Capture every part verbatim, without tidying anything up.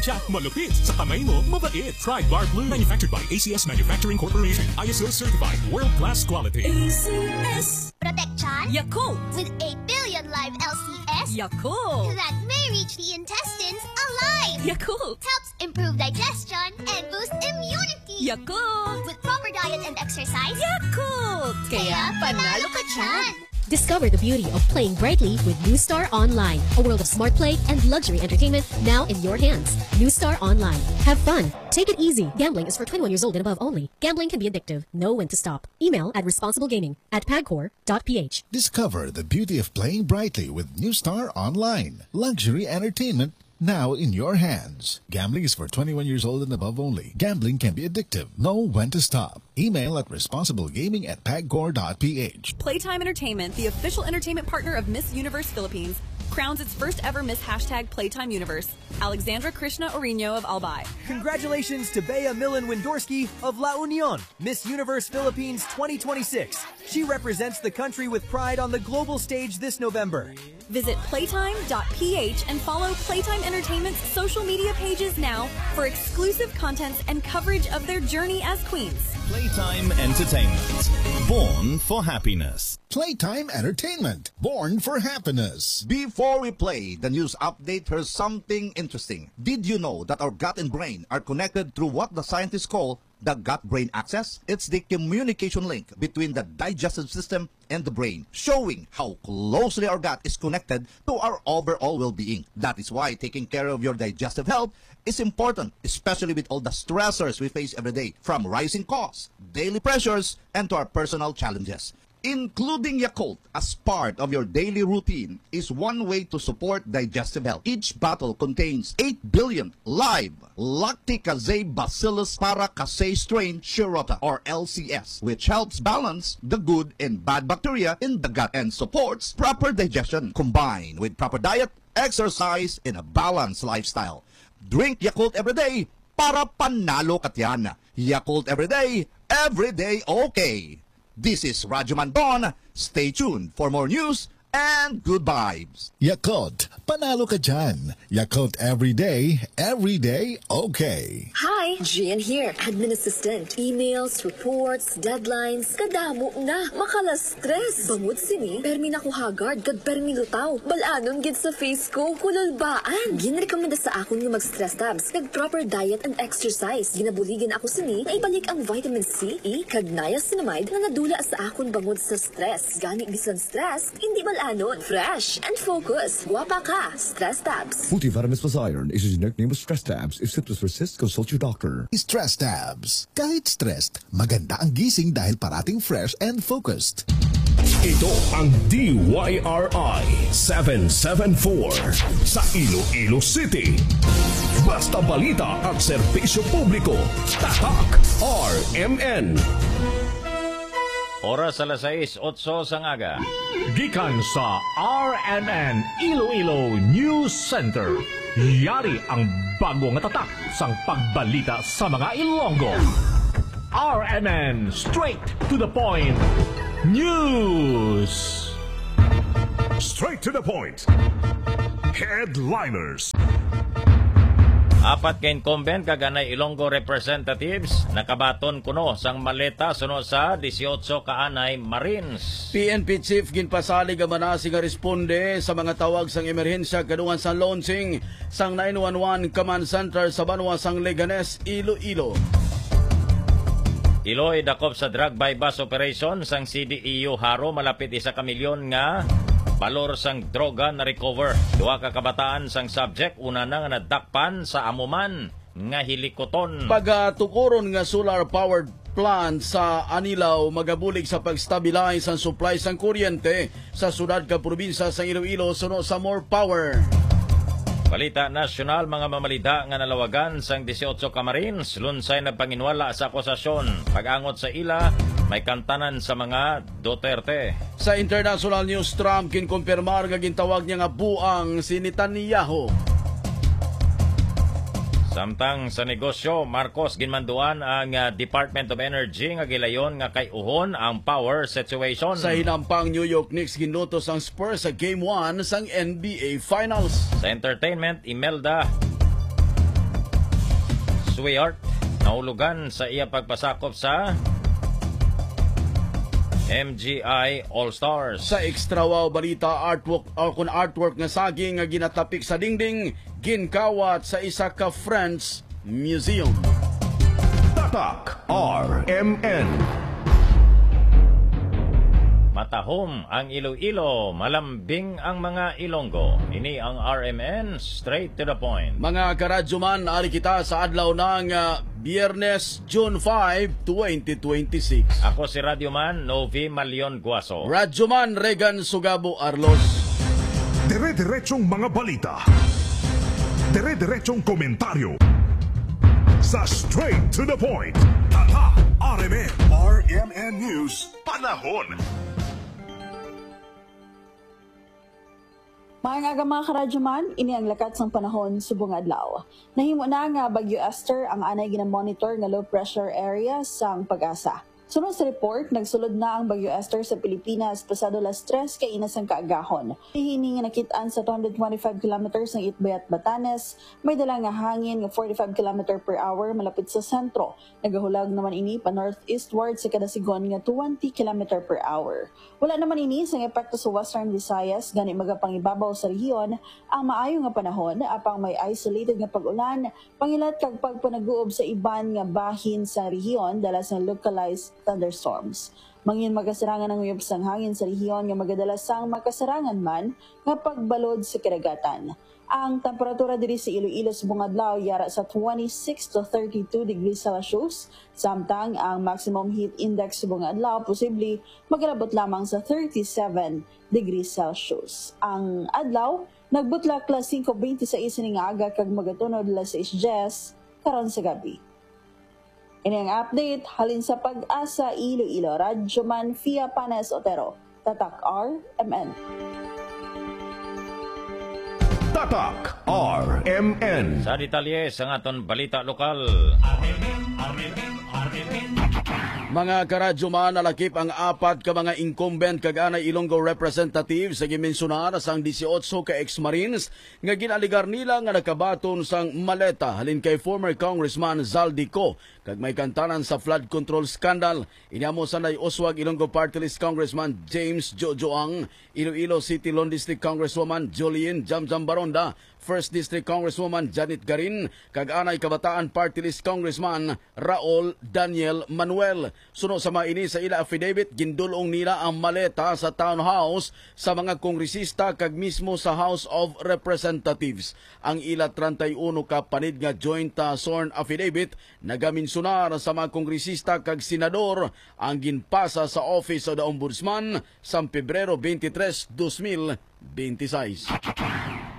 Jack malupit sa kamay mo, mabait. Pride Bar Blue. Manufactured by A C S Manufacturing Corporation. I S O certified. World class quality. A C S. Protection Yakult. With a billion live L C S Yakult. That may reach the intestines alive. Yakult. Helps improve digestion and boost immunity. Yakult. With proper diet and exercise. Yakult. Kaya panalo ka dyan. Discover the beauty of playing brightly with New Star Online, a world of smart play and luxury entertainment now in your hands. New Star Online. Have fun. Take it easy. Gambling is for twenty-one years old and above only. Gambling can be addictive. Know when to stop. Email at responsiblegaming at pagcor dot p h. Discover the beauty of playing brightly with New Star Online. Luxury entertainment now in your hands. Gambling is for twenty-one years old and above only. Gambling can be addictive. Know when to stop. Email at responsiblegaming at pagcor dot p h. Playtime Entertainment, the official entertainment partner of Miss Universe Philippines, crowns its first ever Miss Hashtag Playtime Universe, Alexandra Krishna Orino of Albay. Congratulations to Bea Millen Windorski of La Union, Miss Universe Philippines twenty twenty-six. She represents the country with pride on the global stage this November. Visit playtime dot p h and follow Playtime Entertainment's social media pages now for exclusive contents and coverage of their journey as queens. Playtime Entertainment. Born for happiness. Playtime Entertainment. Born for happiness. Before we play the news update, here's something interesting. Did you know that our gut and brain are connected through what the scientists call the gut-brain axis? It's the communication link between the digestive system and the brain, showing how closely our gut is connected to our overall well-being. That is why taking care of your digestive health is important, especially with all the stressors we face every day, from rising costs, daily pressures, and to our personal challenges. Including Yakult as part of your daily routine is one way to support digestive health. Each bottle contains eight billion live Lacticaceae Bacillus paracasei strain Shirota, or L C S, which helps balance the good and bad bacteria in the gut and supports proper digestion, combined with proper diet, exercise, and a balanced lifestyle. Drink Yakult every day para panalo ka tiyan. Yakult every day, every day okay. This is Radyo Mandon. Stay tuned for more news and good vibes. Yakult, panalo ka dyan. Yakult every day, every day okay. Hi, Gian here, admin assistant. Emails, reports, deadlines, kadamo na. Makala-stress. Bangod sini, permi na ko haggard kag permi lutaw. Bal-anon gid sa face ko, kululbaan. Ginrekomenda sa akon nga mag-stress tabs, kag proper diet and exercise. Ginabuligan ako sini nga ibalik ang vitamin C, E, kag niacinamide nga nadula sa akon bangod sa stress. Gani bisan stress, hindi bal-anon. Fresh and focus. Guwapa ka. Stress tabs. Multivitamins plus iron is a generic name of stress tabs. If symptoms persist, consult your doctor. Stress tabs. Kahit stressed, maganda ang gising dahil parating fresh and focused. Ito ang D Y R I seven seven four sa Iloilo City. Basta balita at serbisyo publiko, tatak R M N. Oras alas sais otso sang aga. Gikan sa R M N Iloilo News Center, yari ang bago nga tatak sang pagbalita sa mga Ilonggo. R M N, straight to the point news. Straight to the point. Headliners. Apat ka incumbent kag anay Ilonggo representatives nakabaton kuno sang maleta suno sa dieciocho ka anay Marines. P N P Chief ginpasalig ang manasi nga responde sa mga tawag sang emerhensya kadungan sa launching sang nine one one Command Center sa banwa sang Leganes, Iloilo. Iloy dakop sa drug buy-bust operation sang C D E U Jaro, malapit isa ka milyon nga balor sang droga na-recover. Duha ka kabataan sang subject una na nga nadakpan sa amo man nga hilikoton. Pagatukuron nga solar powered plant sa Anilao magabulig sa pag-stabilize ang supply sang kuryente sa syudad kag probinsya sang Iloilo suno sa More Power. Balita nasyonal, mga mamalida nga nalawagan sang dieciocho ka Marines lunsay nagpanginwala sa akusasyon pag-angot sa ila may kantanan sa mga Duterte. Sa international news, Trump ginkumpirmar nga gintawag niya nga buang si Netanyahu. Samtang sa negosyo, Marcos ginmanduan ang, ah, Department of Energy nga gilayon nga kay-uhon ang power situation. Sa hinampang, New York Knicks ginlutos ang Spurs sa Game one sang N B A Finals. Sa entertainment, Imelda. Swihart, nahulugan sa iya pagpasakop sa M G I All Stars. Sa Extra Wow Balita, artwork, o kun artwork nga saging nga ginatapik sa dingding, ginkawat sa isa ka French museum. Tatak R M N. Matahom ang Iloilo, malambing ang mga Ilonggo. Ini ang R M N, straight to the point. Mga karadyoman, ari kita sa adlaw na nga Biyernes, June five, twenty twenty-six. Ako si Radyoman Novi Malion Guaso. Radyoman Regan Sugabo Arlos. Dire-diretsong mga balita. Dire-diretsong komentaryo. Sa Straight to the Point. Tatak R M N. R M N News. Panahon. Maayong aga, mga karadyoman, ini ang lakat sang panahon subong adlaw. Nahimo na nga Bagyo Esther ang anay ginamonitor nga low pressure area sang PAGASA. Suno sa report, nagsulod na ang Bagyo Esther sa Pilipinas pasado las tres kaina sang kaagahon. Hini nga nakit-an sa two hundred twenty-five kilometers ang Itbayat, Batanes, may dala nga hangin nga forty-five kilometer per hour malapit sa sentro. Nagahulag naman ini pa northeastward sa kada sigon nga twenty kilometer per hour. Wala naman ini sang epekto sa Western Visayas, gani magapangibabaw sa rehiyon ang maayo nga panahon, apang may isolated nga pag-ulan, pangilat kag pagpanaguob sa iban nga bahin sa rehiyon dala sa localized thunderstorms. Mangin makasarangan ang uyop sang hangin sa rehiyon nga magadala sang makasarangan man nga pagbalod sa kadagatan. Ang temperatura diri sa Iloilo subong adlaw yara sa twenty-six to thirty-two degrees Celsius, samtang ang maximum heat index subong adlaw posible magalabot lamang sa thirty-seven degrees Celsius. Ang adlaw nagbutlak las singko bente sais sining nga aga kag magatunod las sais dyes karon sa gabi. Ini ang update halin sa PAGASA Iloilo, Radyoman Fia Panes Otero, Tatak R M N. Tatak R M N. Sa detalye sang aton balita lokal. Mga karadyoman, nalakip ang apat ka mga incumbent kag anay Ilonggo representatives sa ginmensionar sang dieciocho ka ex-Marines nga gin-alegar nila nga nakabaton sang maleta halin kay former Congressman Zaldy Co kag may kantanan sa flood control scandal. Ini amo sa nag-uswag Ilonggo Party List Congressman James Jojo Ang, Iloilo City Lone District Congresswoman Jolene Jamjam Baronda, First District Congresswoman Janet Garin, kag anay Kabataan Party List Congressman Raul Daniel Manuel. Suno sa mga ini, sa ila affidavit, gindul-ong nila ang maleta sa townhouse sa mga kongresista kag mismo sa House of Representatives. Ang ila treinta y uno ka panid nga joint, ah, sworn affidavit nagaminsunar sa mga kongresista kag senador ang ginpasa sa Office of the Ombudsman sang Pebrero twenty-three, dos mil twenty-six.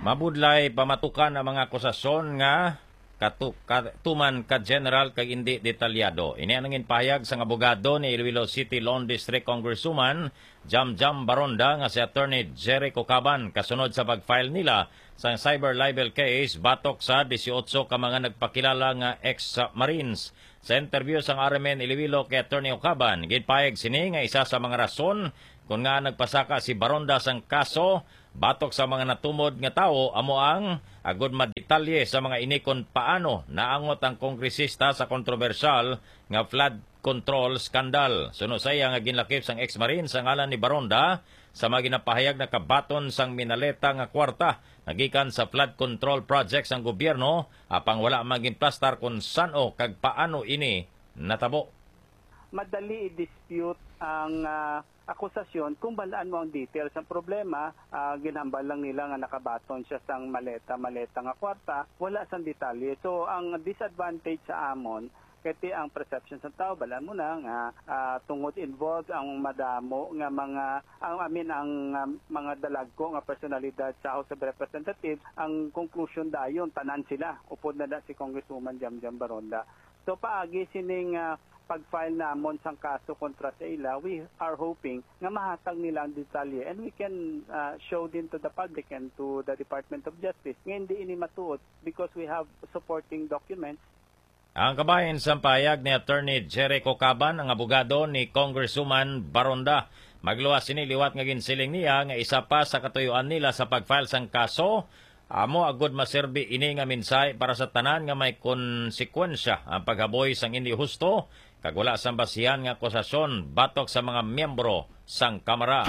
Mabudlay pamatukan ang mga akusasyon nga katu-, katuman ka general kag indi detalyado. Ini ang ginpahayag sang abogado ni Iloilo City Lone District Congresswoman Jamjam Baronda nga si Attorney Jerry Cocaban kasunod sa pag-file nila sang cyber libel case batok sa dieciocho ka mga nagpakilala nga ex-Marines. Sa interview sang R M N Iloilo kay Attorney Cocaban, ginpahayag sini nga isa sa mga rason kon ngaa nagpasaka si Baronda sang kaso batok sa mga natumod nga tawo amo ang agud madetalye sa mga ini kon paano naangot ang kongresista sa kontrobersyal nga flood control scandal. Suno sa iya nga ginlakip sang ex-Marine sa ngalan ni Baronda, sa mga ginapahayag nakabaton sang minaleta nga kwarta nga gikan sa flood control project sang gobyerno, apang wala man ginplastar kon san-o kag paano ini natabo. Madali i-dispute ang, ah, akusasyon kung balaan mo ang details. Ang problema, ah, ginhambal lang nila nga nakabaton siya sang maleta-maleta nga kwarta, wala sang detalye. So, ang disadvantage sa amon, kay ti ang perception sa tao, balaan mo na nga, ah, tungod involved ang madamo nga mga, ang, I mean, ang, ah, mga dalagko nga personalidad sa House of Representatives, ang conclusion dayon, tanan sila, upod na da si Congresswoman Jamjam Baronda. So, paagi sining, ah, pag-file namon sang kaso kontra sa ila, we are hoping nga mahatag nila ang detalye and we can, ah, show din to the public and to the Department of Justice nga hindi ini matuod because we have supporting documents. Ang kabahin sang pahayag ni Attorney Jerry Cocaban, ang abogado ni Congresswoman Baronda. Magluwas sini liwat nga ginsiling niya nga isa pa sa katuyuan nila sa pag-file sang kaso Amo agud maserbi ini nga mensahe para sa tanan nga may konsekwensya ang paghaboy sang indi husto kag wala sang basihan nga akusasyon batok sa mga miyembro sang Kamara.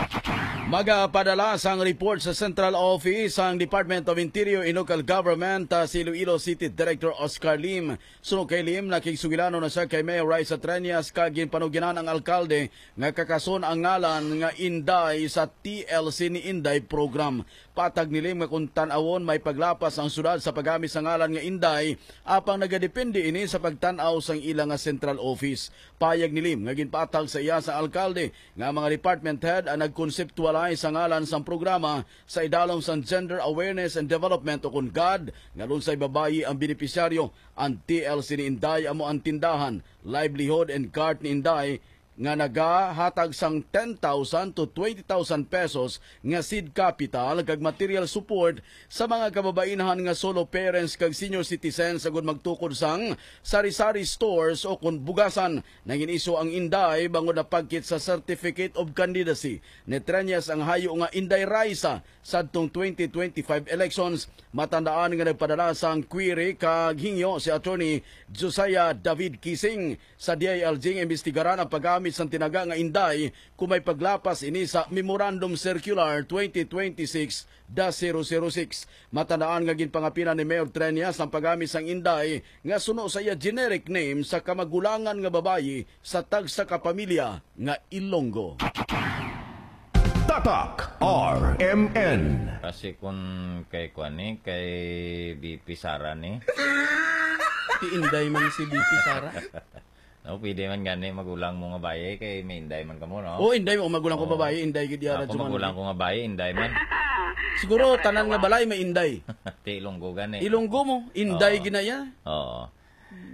Magapadala sang report sa Central Office sang Department of Interior and Local Government, ah, si Iloilo City Director Oscar Lim. Suno kay Lim, nakigsugilanon na siya kay Mayor Raisa Treñas kag ginpanuginan ang alkalde nga kakason ang ngalan nga Inday sa T L C ni Inday program. Patag ni Lim nga kung tan-awon may paglapas ang syudad sa paggamit sa ngalan nga Inday, apang nagadepende ini sa pagtan-aw sang ila nga central office. Payag ni Lim nga ginpatag sa iya sa alkalde nga mga department head ang nagkonseptualize sa ngalan sang programa sa idalom sang Gender Awareness and Development o kon gad nga lunsay babayi ang benepisyaryo. Ang T L C ni Inday amo ang tindahan, livelihood and cart ni Inday nga nagahatag sang ten thousand to twenty thousand pesos nga seed capital kag material support sa mga kababainhan nga solo parents kag senior citizens agud magtukod sang sari-sari stores o kon bugasan. Nangin-iso ang Inday bangod napagkit sa Certificate of Candidacy ni Treñas ang hayo nga Inday Raisa sadtong twenty twenty-five elections. Matandaan nga nagpadala sang query kag hingyo si Attorney Josiah David Kising sa D I L G nga imbestigaran ang paggamit sang tinaga nga Inday kung may paglapas ini sa Memorandum Circular twenty twenty-six dash zero zero six. Matandaan nga ginpangapilan ni Mayor Treñas ang paggamit sang Inday nga suno sa iya generic name sa kamagulangan nga babayi sa tagsa ka pamilya nga Ilonggo. Tatak R M N. Kasi kung kay kuan ni, kay V P Sara ni. Ti Inday man si V P Sara. No, pwede man gani magulang mo nga bayi kay may Inday man kamo, no? Oh, Inday mo magulang ko Oo. Babayi, Inday gid yara. Ako magulang ko nga bayi, Inday man. Siguro tanan nga balay may Inday. Ti Ilonggo gani. Ilonggo mo, Inday Oo. Ginaya. Oo.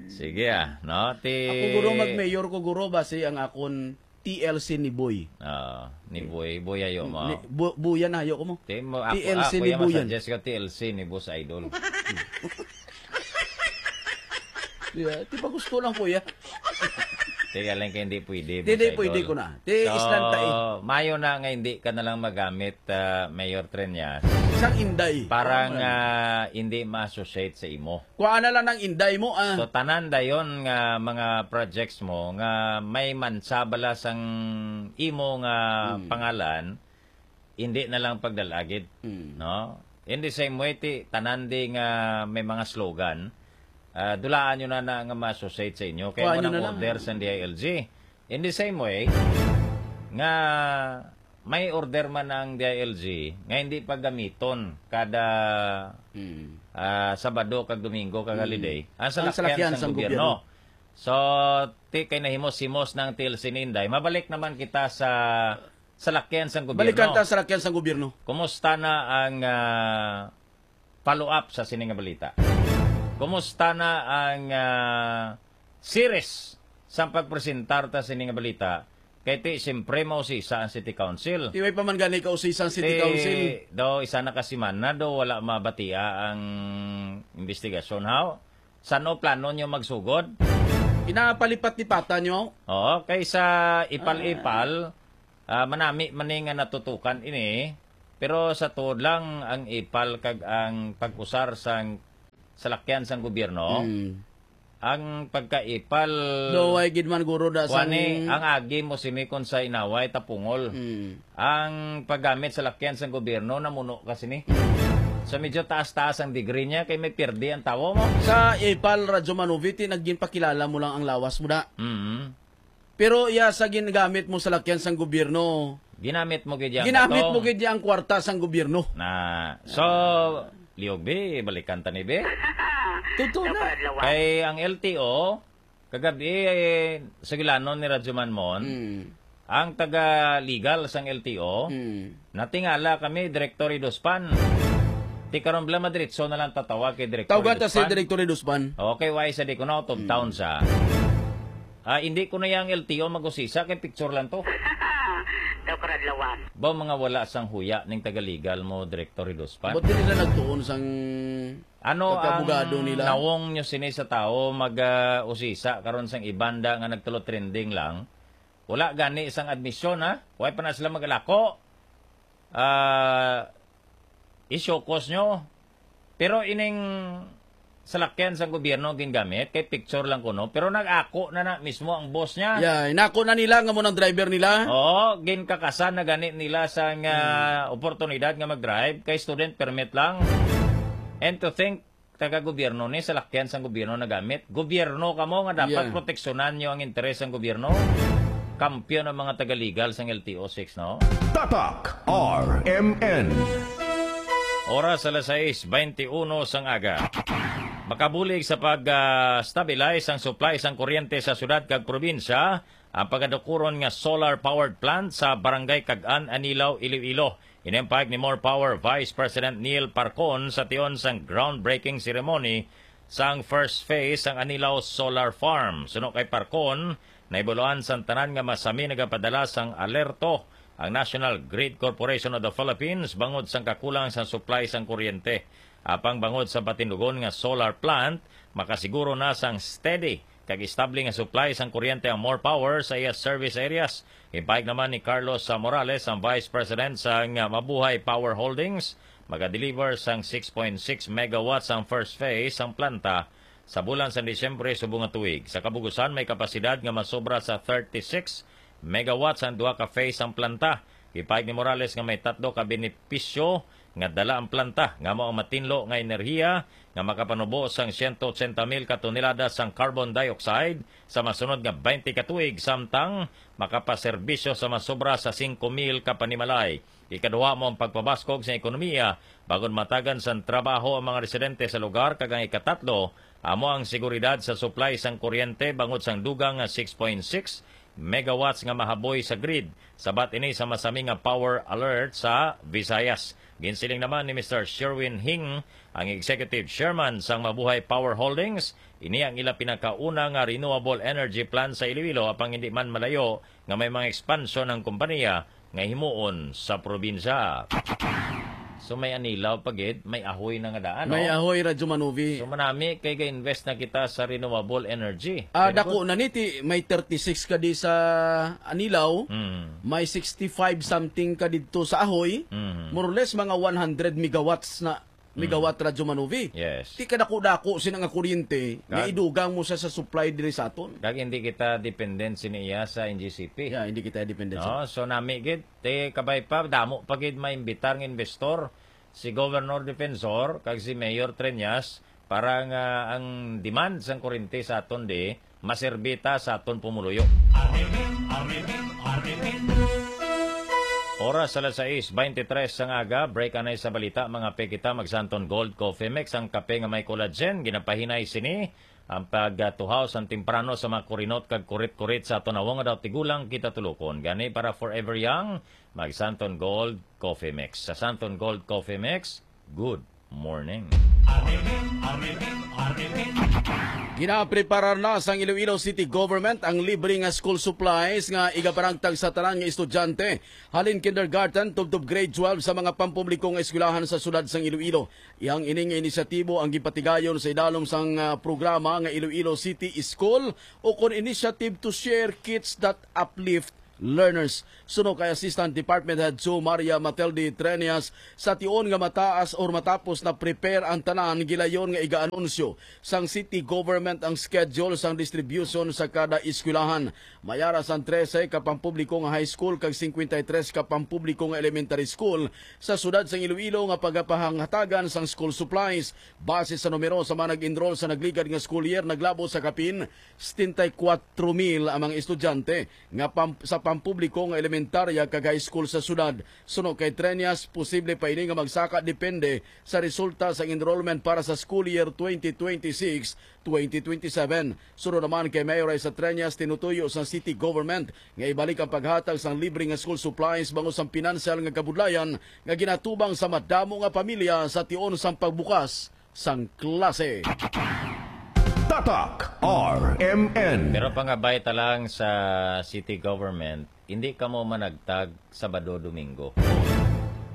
Sige ah, no? Ti Ako guro mag-mayor ko guro basi ang akon T L C ni Boy. Ah, ni Boy, Boy ayo mo. Ni, bu, buyan na, ayo ko mo. Ti mo, ako, T L C ako ni yung Buyan. Masuggest ka T L C ni Boss Idol. Yeah, ti pa gusto lang, kuya. Ti galing kay hindi pwede, Boss Hindi Idol. Pwede ko na. Ti So, islan ta eh. Mayo na nga hindi ka na lang magamit, ah, Mayor Treñas. Sang Inday. Parang, Tama. Ah, hindi ma-associate sa imo. Kuha na lang ng Inday mo, ah. So, tanan dayon nga mga projects mo nga may mansabala sang imo nga Hmm. pangalan, hindi na lang pagdalagid, Hmm. no? In the same way, ti, tanan di nga may mga slogan, ah, dulaan nyo na na nga ma-associate sa inyo. Kaya Kuha mo nyo nang na lang. Order sa D I L G. In the same way, nga may order man ang D I L G nga hindi paggamiton kada, Hmm. ah, Sabado kag Domingo kag Hmm. holiday, ang Ang salakyan salakyan sang sang gobyerno. gobyerno. So, ti kay nahimos-himos ng T L C ni Inday, mabalik naman kita sa salakyan sang gobyerno. Balikan ta ang salakyan sang gobyerno. Kumusta na ang, ah, follow-up sa sini nga balita? Kumusta na ang, ah, series sang pagpresentar ta sini nga balita? Kay ti, siyempre, mausisa ang City Council. Ti, way pa man gani kausisa ang City Ti, Council. Daw, isa na ka semana, daw, wala mabatia ang investigasyon, haw? Sano plano nyo magsugod? Pinapalipat-lipatan nyo? Oo, kaysa ipal-ipal, ah, manami man ni nga natutukan ini, pero sa tuod lang ang ipal kag ang pag-usar sang salakyan sang gobyerno, Hmm. ang pagkaipal, Daw, way gid man guro da sang Kuani, ang agi mo sini kon sa inaway, tapungol. Hmm. Ang paggamit sa lakyan sang gobyerno, namuno ka sini. So, medyo taas-taas ang degree niya, kay may pirdi ang tawo mo. Sa ipal, Radyo Manoviti, nagginpakilala mo lang ang lawas mo na. Mm. Pero iya sa ginagamit mo sa lakyan sang gobyerno, Ginamit mo gid yan. Ginamit Atong mo gid ang kwarta sang gobyerno. Na, so, liog, bi, balikan ta ni, bi. Totoo na. Kay ang L T O, kagabi, eh, sugilanon ni Radyo Manmon, Mm. ang taga-legal sang L T O, Mm. natingala kami, Director Idospan. Ti karon bala madiretso na lang tatawag kay Director Tawgan ta si Idospan. Director Idospan. Okay, why sa di ko na out of Mm. town sa? Ah, hindi ko na yang L T O mag-usisa kay picture lang to. Daw karadlawan. Ba mga wala sang huya ning taga-legal mo, Director Idospan? Ba't di nila nagtuon sang Ano ang pagkabugado nila? Nawong nyo sini sa tao mag, ah, usisa karon sang ibanda nga nagtulo trending lang? Wala gani sang admisyon, ha? Why pa na sila mag-alako? Ah, isyokos nyo. Pero ining salakyan sang gobyerno gingamit, kay picture lang kuno, pero nag-ako na na mismo ang boss niya. Yeah, inako na nila nga mo nang driver nila. Oo, ginkakasan na gani nila sang, ah, Hmm. oportunidad nga mag-drive, kay student permit lang. And to think, taga-gobyerno ni, salakyan sang gobyerno nagamit. Gobyerno kamo nga dapat Yeah. proteksyonan nyo ang interes sang gobyerno. Kampiyon ang mga taga-legal sang L T O six, no? Tatak R M N. Oras alas sais beintiuno sang aga. Makabulig sa pag, ah, stabilize ang supply sang kuryente sa syudad kag probinsya ang pagadukuron nga solar powered plant sa Barangay Cag-an, Anilao, Iloilo. Ini ang pahayag ni More Power Vice President Neil Parcon sa tion sang groundbreaking ceremony sang first phase sang Anilao Solar Farm. Suno kay Parcon, nahibaluan sang tanan nga masami nagapadala sang alerto ang National Grid Corporation of the Philippines bangod sang kakulang sang supply sang kuryente. Apang bangod sa patindugon nga solar plant, makasiguro na sang steady kag estable nga supply sang kuryente ang More Power sa iya service areas. Ginpahayag naman ni Carlos, ah, Morales, ang Vice President sang, ah, Mabuhay Power Holdings, magadeliver sang six point six megawatts ang first phase sang planta sa bulan sang Disyembre subong nga tuig. Sa kabugusan, may kapasidad nga masobra sa thirty-six megawatts ang duha ka phase sang planta. Ginpahayag ni Morales nga may tatlo ka benepisyo nga dala ang planta, nga mao ang matinlo nga enerhiya nga makapanubo sang siyento otsenta mil ka tonelada sang carbon dioxide sa masunod nga twenty ka tuig, samtang makapaserbisyo sa masobra sa singko mil ka panimalay. Ikaduha mo ang pagpabaskog sa ekonomiya, bangod matagan sang trabaho ang mga residente sa lugar, kag ang ikatatlo amo ang seguridad sa supply sang kuryente bangod sang dugang nga six point six megawatts nga mahaboy sa grid. Sabat ini sa masami nga power alert sa Visayas. Ginsiling naman ni Mister Sherwin Hing, ang executive chairman sang Mabuhay Power Holdings, ini ang ila pinakauna nga renewable energy plant sa Iloilo, apang hindi man malayo nga may mga expansion ang kompanya nga himuon sa probinsya. So, may Anilao pa gid, may Ahoy na nga daan, May no? Ahoy, Radyo Manuvi. So, manami kay ga-invest na kita sa renewable energy. Ah, Very dako good. na ni, ti, may thirty-six ka di sa Anilao, Mm. may sixty-five something ka didto sa Ahoy. Mm. More or less, mga one hundred megawatts na, Mm. megawatt, Radyo Manuvi. Yes. Ti kadako-dako sina nga kuryente, nga Kag idugang mo siya sa supply diri sa aton. Kag hindi kita dependent sini iya sa N G C P. Yeah, hindi kita dependent sa No, so nami gid, ti kabay pa, damo pa gid maimbitar nga investor, si Governor Defensor kag si Mayor Treñas, para nga ang demand sang kuryente sa aton di maserbi ta sa aton pumuluyo. Arimin, arimin, arimin. Oras alas sais beintitres sang aga, break anay sa balita, mga pe kita, mag Santon Gold Coffee Mix, ang kape nga may collagen, ginapahinay sini ang pagtuhaw sang temprano sa mga kurinot kag kurit-kurit sa aton awong nga daw tigulang kita tulokon. Gani para forever young, mag Santon Gold Coffee Mix. Sa Santon Gold Coffee Mix, good morning. Arimin, arimin, arimin. Ginapreparar na sang Iloilo City Government ang libre nga school supplies nga igapanagtag sa tanan nga estudyante, halin kindergarten tubtob grade twelve sa mga pampubliko nga eskwelahan sa siyudad sang Iloilo. Iyang ini nga inisyatibo ang gipatigayon sa idalom sang, ah, programa nga Iloilo City School, o kon Initiative to Share Kits that Uplift Learners. Suno kay Assistant Department Head two Maria Matilde Treñas, sa tion nga mataas or matapos na prepare ang tanan, gilayon nga iga-anunsyo sang city government ang schedule sang distribution sa kada eskwelahan. May ara sang trese ka pampubliko nga high school kag cincuenta y tres ka pampubliko nga elementary school sa siyudad sang Iloilo nga pagapahanghatagan sang school supplies. Base sa numero sa mga nag-enroll sa nagligad nga school year, naglabot sa kapin setenta y kuwatro mil ang mga estudyante nga pam-, sa pampubliko nga elementarya kag high school sa siyudad. Suno kay Treñas, posible pa ini nga magsaka depende sa resulta sa enrollment para sa school year twenty twenty-six, twenty twenty-seven. Suno naman kay Mayor Raisa Treñas, tinutuyo sang city government nga ibalik ang paghatag sang libre nga school supplies bangod sang pinansyal nga kabudlayan nga ginatubang sa madamo nga pamilya sa tion sang pagbukas sang klase. Tatak R M N. Pero pangabay ta lang sa city government, hindi kamo managtag Sabado, Domingo.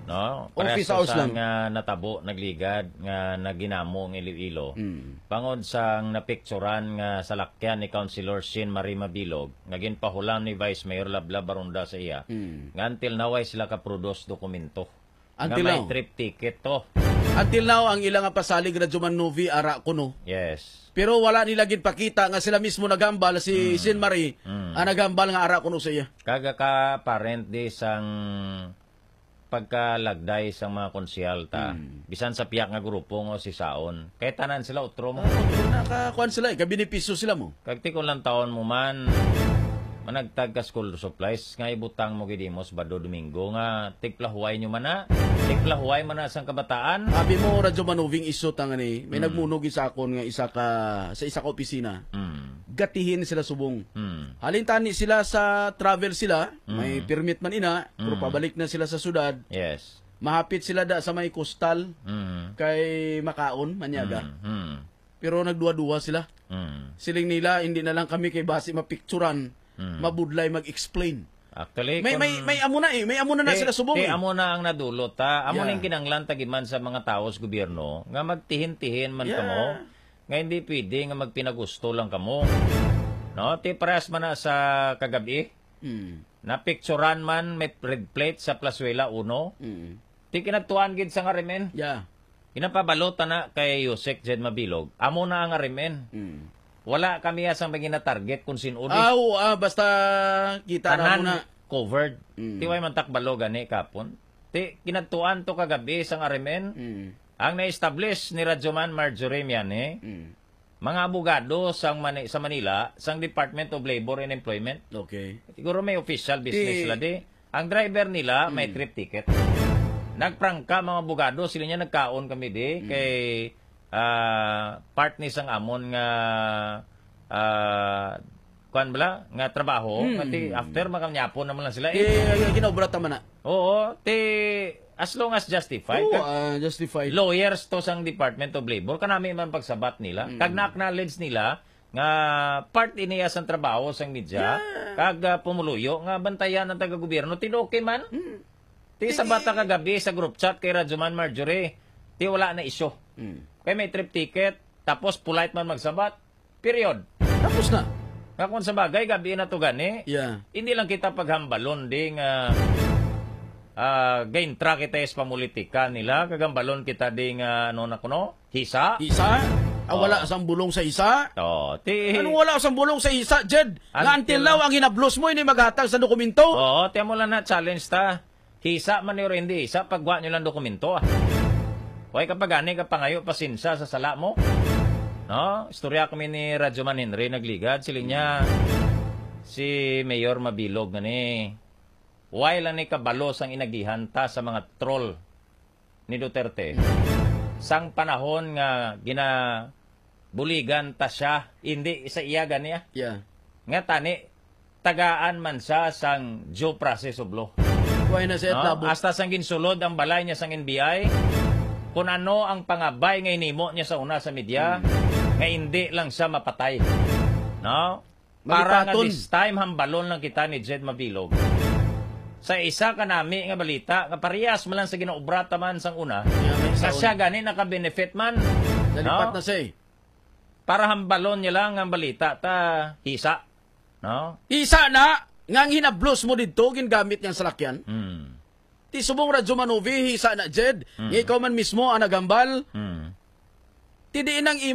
No? Parehas Office to hours sa lang. nga natabo, nagligad, nga naginamo ang Iloilo. Mm. Bangod sang napikturan nga salakyan ni Councilor Shin Marie Mabilog, nga ginpahulam ni Vice Mayor Lablab Baronda sa iya, Mm. nga until now ay sila kaproduce dokumento. Until Nga may now. trip ticket to. Until now, ang ila nga pasalig, Radyo Man Novi, ara kuno. Yes. Pero wala nila gid pakita nga sila mismo naghambal, si Mm. Jean Marie Mm. ang naghambal nga ara kuno sa iya. Kaga ka parent di sang pagkalagday sang mga konsehal ta. Mm. Bisan sa piyak nga grupo nga si Saon. Kay tanan sila utro mo. Ah, utro na, kakuan sila eh, kabenepisyo sila mo. Kag tikon lang taon mo man, managtag ka school supplies nga ibutang mo gid imo sa Bado Domingo nga tigplahuway nyo man na. Tigplahuway man na sang kabataan. Abi mo, Radyo Manubing, iso ta nga ni, may Mm. nagmunog sa akon nga isa ka, sa isa ka opisina. Mm. Gatihin sila subong. Mm. Halin tani sila sa travel sila, may Mm. permit man ina, pero Mm. pabalik na sila sa syudad. Yes. Mahapit sila da sa may kustal, Mm. kay makaon, manyaga. Mm. Mm. Pero nagduwa-duwa sila. Mm. Siling nila, "Hindi na lang kami kay basi mapicturan, Mm. mabudlay mag-explain." Actually, May, kung may, may amo na eh. May amo na na Ti, sila subong ti eh. amo na ang nadulot, ha? Amo Yeah. ning kinanglan tagiman sa mga tawo sa gobyerno nga magtihin-tihin man Yeah. kamo, nga hindi pwede nga magpinagusto lang kamo. No? Ti parehas man na sa kagabi, Mm. napicturan man may red plate sa Plazuela uno. Mm. Ti kinadtuan gid sa nga remen. Yeah. Ginapabalo ta na kay Yusek Jed Mabilog. Amo na ang R M N. Mm. Wala kami asang may ginatarget kung sin-o di. Ah, oo, ah, basta kita na Tanan mo na. covered. Mm. Ti way man takbalo gani kapon. Ti kinadtuan to kagabi sang R M N. Mm. Ang na-establish ni Radyoman Marjorie Miani, Mm. mga abogado sang Mani-, sa Manila, sang Department of Labor and Employment. Okay. Siguro may official business Ti- sila di. Ang driver nila may Mm. trip ticket. Nagprangka mga abogado, sila niya nagkaon kami di Mm. kay ah, part ni sang amon nga, ah, kuan bala, nga trabaho, Mm. nga ti after makanyapo naman lang sila. Eh, Eh, ay, ay, ginaobra ta man na. Oo, ti as long as justified, Oo, kag ah, justified. lawyers to sang Department of Labor, kanami man pagsabat nila. Mm. Kag na-acknowledge nila nga part ini sang trabaho sang media, Yeah. kag, ah, pumuluyo nga bantayan ang taga-gobyerno. Ti okay man. Mm. Ti Ti sabat ta kagabi sa group chat kay Radyoman Marjorie, ti wala na isyu. Mm. Kay may trip ticket, tapos polite man magsabat. Period. Tapos na. Nga kung sa bagay, gabi na to gani. Yeah. Hindi lang kita paghambalon di nga, ah, gaintra kita sa pamulitika nila, kagambalon kita di nga, ano na kuno, hisa. Hisa? Ah, Oh. wala sang bulong sa hisa? Oh, ti Anong wala sang bulong sa hisa, Jed? Nga Until until now, ang hinablos mo, hindi maghatag sa dokumento? Oo, ti amo lang na challenge ta. Hisa man ni or hindi hisa, pagwa nyo lang dokumento, ah. Way ka pa gani ka pangayo pasensya sa sala mo. No? Istorya kami ni Radyoman Henry Nagligad, siling niya, si Mayor Mabilog nga ni, way lang ni kabalo sang inagihan ta sa mga troll ni Duterte. Sang panahon nga ginabuligan ta siya, hindi sa iya gani, ah. Yeah. Nga tani, tagaan man siya sang due process of law. Kuhay na siya No? at labo. Hasta sang ginsulod ang balay niya sang N B I, kung ano ang pangabay nga inimo niya sa una sa media, Hmm. nga hindi lang siya mapatay. No? Para nga Malipaton. this time, hambalon lang kita ni Jed Mabilog. Sa isa ka nami nga balita, nga parehas man lang sa ginaobra ta man sang una, Kaya may sa saon. siya gani naka-benefit man. Nalipat No? na siya eh. Para hambalon niya lang ang balita, ta hisa. No? Isa na, nga ang hinablos mo didto, gingamit niyang salakyan. Mm. Ti subong Radyo Manovi, hisa na, Jed. Mm. Nga ikaw man mismo ang naghambal. Mm. Ti diin ang